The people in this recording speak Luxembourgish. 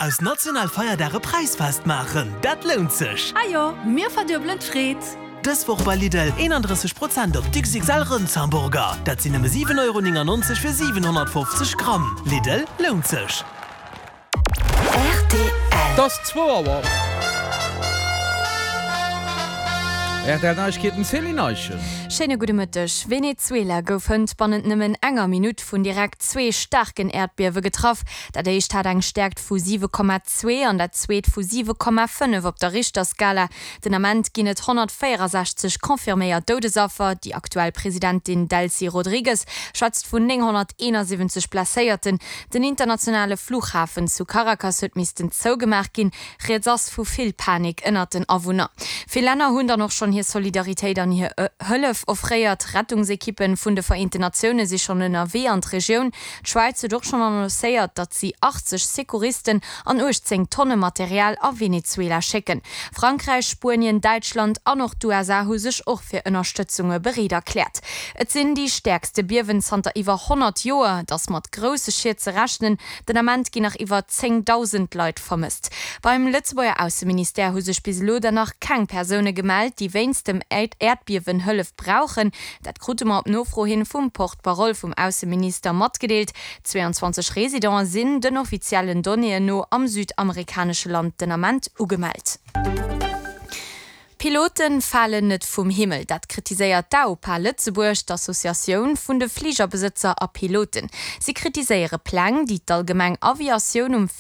Aus Nationalfeierdag e Präisfest maachen, dat lount sech! Ajo, mir verduebelen d'Freed! Dës Woch bei Lidl, 31 Prozent op d'XXL Rëndshamburger, dat sinn nëmme 7,99 Euro fir 750 Gramm. Lidl, lount sech! Rtl. Et ass zwou Auer. Rtl Neiegkeeten, Céline Eischen. Schéine gudde Mëtteg. Venezuela gouf hënt bannent nëmmen enger Minutt vun direkt zwee staarken Äerdbiewe getraff. Dat éischt hat eng Stäerkt vu 7,2 an dat zweet vu 7,5 op der Richterskala. Den Ament ginn et 164 confirméiert Doudesaffer. Déi aktuell Presidentin Delcy Rodrigues schwätzt vun 971 Blesséierten. Den internationale Fluchhafen zu Caracas huet missten zougemaach ginn. Rieds ass vu vill Panik ënnert den Awunner. Vill Länner hunn dann och schonn hir Solidaritéit an hir Hëllef offréiert. Rettungsekippen vun de Vereenten Natioune si schonn ënnerwee an d'Regioun. D'Schwäiz huet och schonn annoncéiert, datt si 80 Secouristen an 18 Tonne Material a Venezuela schécken. Frankräich, Spuenien, Däitschland an och d'USA hu sech och fir Ënnerstëtzunge bereet erkläert. Et sinn déi stäerkste Biewen zanter iwwer 100 Joer. Et ass mat grousse Schied ze rechnen. Den Ament ginn nach iwwer 10.000 Leit vermësst. Beim Lëtzebuerger Ausseministère hu sech bis elo der nach keng Persoune gemellt, déi wéinst dem Äerdbiewen Hëllef brauchen. Dat krute mer op Nofro hin vum Porte-parole vum Ausseminister matgedeelt. 22 Residente sinn den offiziellen Donnéeën no am südamerikanesche Land den Ament ugemellt. Pilote falen net vum Himmel, dat kritiséiert d'AOPA Lëtzebuerg, d'Associatioun vun de Fligerbesëtzer a Piloten. Si kritiséiere Pläng, déi d'Allgemeng Aviatioun um.